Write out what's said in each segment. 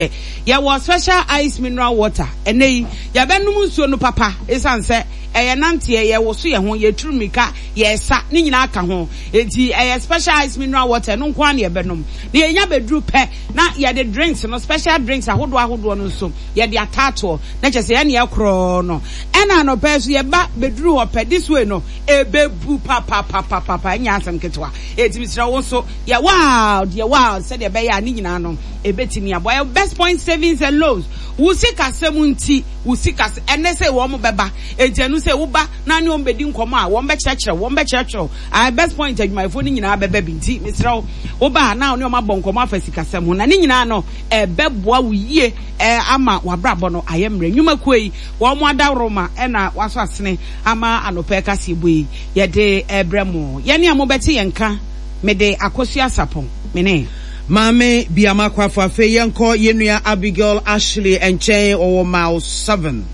Yɛwɔ special ice mineral water. Ɛnnɛ yi, yɛbɛnom nsuo no papa esiane sɛ ɛyɛ nanteɛ, yɛwoso yɛn ho, yɛturu mmirika, yɛresa, ne nyinaa ka ho. Enti ɛyɛ special ice mineral water, ɛno nko ara na yɛbɛnom. Na yɛnya bɛduru pɛ na yɛde drinks no, special drinks ahodoɔ ahodoɔ no nso, yɛde ataatoɔ. Na kyerɛ sɛ yɛne yɛkorɔ no. Ɛna anɔpa yi nso yɛba bɛduru hɔ pɛ, this way no, ɛbɛbu papapapapa, ɛnyɛ asɛm ketewa. Enti mesrɛ wo nso, yɛ wild, yɛ wild sɛdeɛ ɛbɛyɛ a ne nyinaa no, Ebetumi aboa. Yɛwɔ Best Point Savings and Loans. Wo sikasɛm nti, wo sikasɛm, ɛnnɛ sɛ wɔn bɛba, enti ɛno sɛ woba na ne wɔn bɛdi nkɔmmɔ a, wɔn bɛkyerɛkyerɛ wo, wɔn bɛkyerɛkyerɛ wo. Ae, Best Point adwumayɛfoɔ no nyinaa bɛba bi, nti mesrɛ wo, woba a na wo ne wɔn abɔ nkɔmmɔ afa sikasɛm ho, na ne nyinaa no, ɛbɛboa wo yie ama w'abrabɔ no ayɛ mmerɛ. Nnwumakuo yi, wɔn adaworoma na wɔasɔ asene ama anɔpa kaseɛbɔ yi yɛde rebrɛ mo. Yɛne a mobɛte yɛn nka, mede Akosua Sarpong, me ne. Maame Biama Kwafo Afei yɛnkɔ yɛn nua Abigail Ashley nkyɛn, ɔwɔ Mile 7.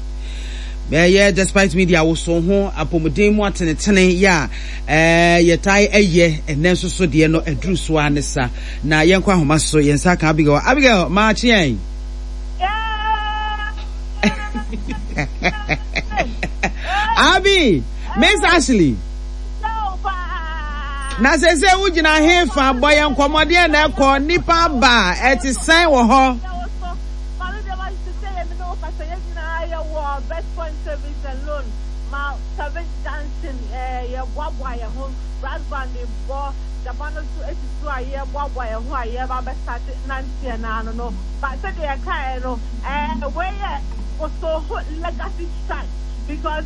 Ɛyɛ Despite Media wosow ho apɔmuden mu atenetene yɛ a yɛtae ɛyɛ ɛnɛ nso so deɛ no aduru so ara ne sa. Na yɛnkɔ ahoma so, yɛn nsa ka Abigail. Abigail, maakye yɛn. Abi, Miss Ashley. Na sese wogyina he fa bɔ yɛn nkɔmmɔ deɛ na ɛkɔ nnipa aba a ɛte sɛn wɔ hɔ? Because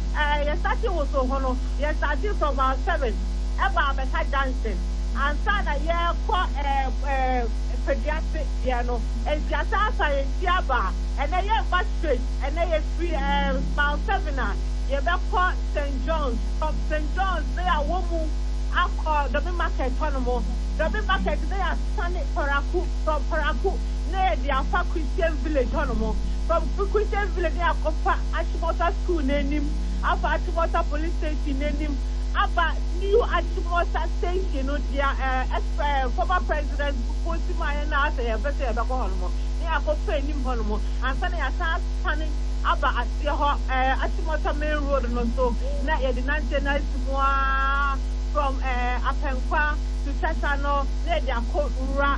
yɛ starting from mile 7 ɛba abɛka junction ansa na yɛrekɔ Peduase deɛ no. Nti asan asan yɛn ti aba a, ɛnɛ yɛmba straight. Ɛnɛ yɛfiri mile 7 a, yɛbɛkɔ St John's. From St John's na yɛawɔ mu akɔ Dɔme Market hɔnom. Dɔme Market na yɛasane Paraku. From Paraku na yɛde afa Christian Village hɔnom. From Christian Village na yɛakɔfa Achimota School no anim, afa Achimota Police Station no anim, aba New Achimota Station no, deɛ ex former President Kufuor si maa yɛn na asɛ yɛmpɛ sɛ yɛbɛkɔ hɔnom, na yɛakɔfa anim hɔnom ansa na yɛasan asane aba aseɛ hɔ, Achimota Main Road no so, na yɛde nanteɛ no asi mu ara from Apɛnkwa to Tesano na yɛde akɔ wura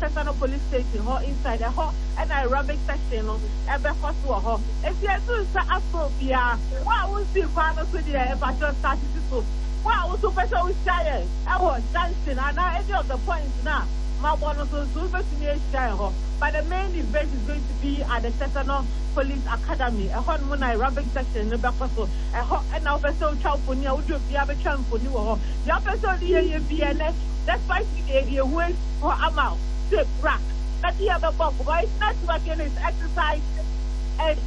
Tesano Police Station hɔ inside, ɛhɔ na aerobic section no ɛbɛkɔ so wɔ hɔ. Enti yɛto nsa afrɛ obiara, wo a wonsii kwan no so deɛ, mpakyɛw start si so. Wo a wo nso wopɛ sɛ wohyia yɛn wɔ junction anaa any of the points no a mabɔ no so nso, wobɛtumi ahyia yɛn hɔ. But the main event is going to be at the Tesano Police Academy. Ɛhɔ nom na aerobic section no bɛkɔ so. Ɛhɔ na wopɛ sɛ wotwa mfoni a, wode obiara bɛtwa mfoni wɔ hɔ. Deɛ wopɛ sɛ wode yɛ yɛ biara ɛnnɛ, despite media yɛde yɛn ho asi hɔ ama wo sɛ bra na de yɛn bɛbɔ nkɔmmɔ. It's networking, it's exercise. And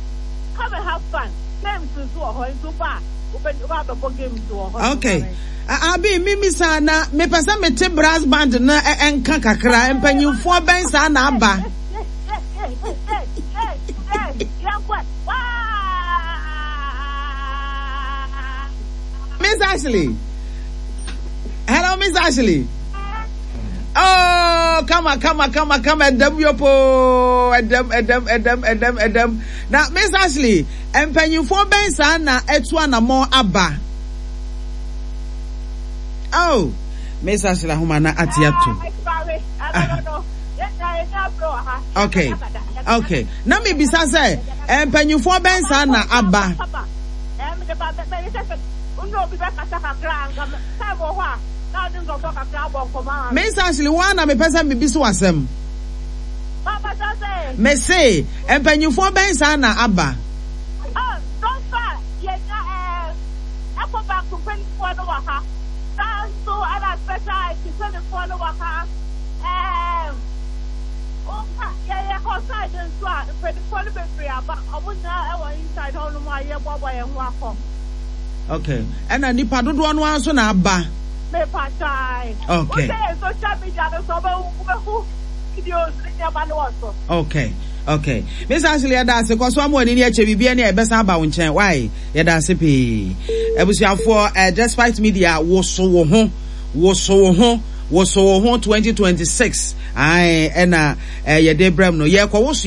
come and have fun. Games nso wɔ hɔ nti woba a wobɛ abɛbɔ games wɔ hɔ. Okay. Abi mimi saa na mepɛ sɛ mete brass band no nka kakra mpanyinfoɔ bɛn saa na aba. Miss Ashley. Hello, Miss Ashley. Oh, kama kama kama kama ɛdɛm yopo ɛdɛm ɛdɛm ɛdɛm ɛdɛm ɛdɛm na Miss Ashley mpanyinfoɔ bɛn saa na ɛtu anamɔ aba. Oh, Miss Ashley ahoma na ate ato. Okay, okay. Na mi bisa sɛ mpanyinfoɔ bɛn saa na aba. Miss Ashley, wo ara na mepɛ sɛ mebisa wo asɛm. Mese, mpanyinfoɔ bɛn saa na aba? Okay, ɛna nipa dodoɔ no ara nso na aba. Mepakyɛ ae. Okay. Wohwɛ yɛn social media no so wobɛhu wobɛhu videos ne nneɛma no wɔ so. Okay. Okay. Miss Ashley yɛda ase kɔ so ama w'ani ne akyɛ biribi ani a yɛbɛsan aba wo nkyɛn. Why? Yɛda ase pii. Abusuafoɔ, eh, Despite Media woso wo ho, woso wo ho, woso wo ho 2026. Ae, ɛna eh, yɛde brɛ mu no. Yɛkɔ woso.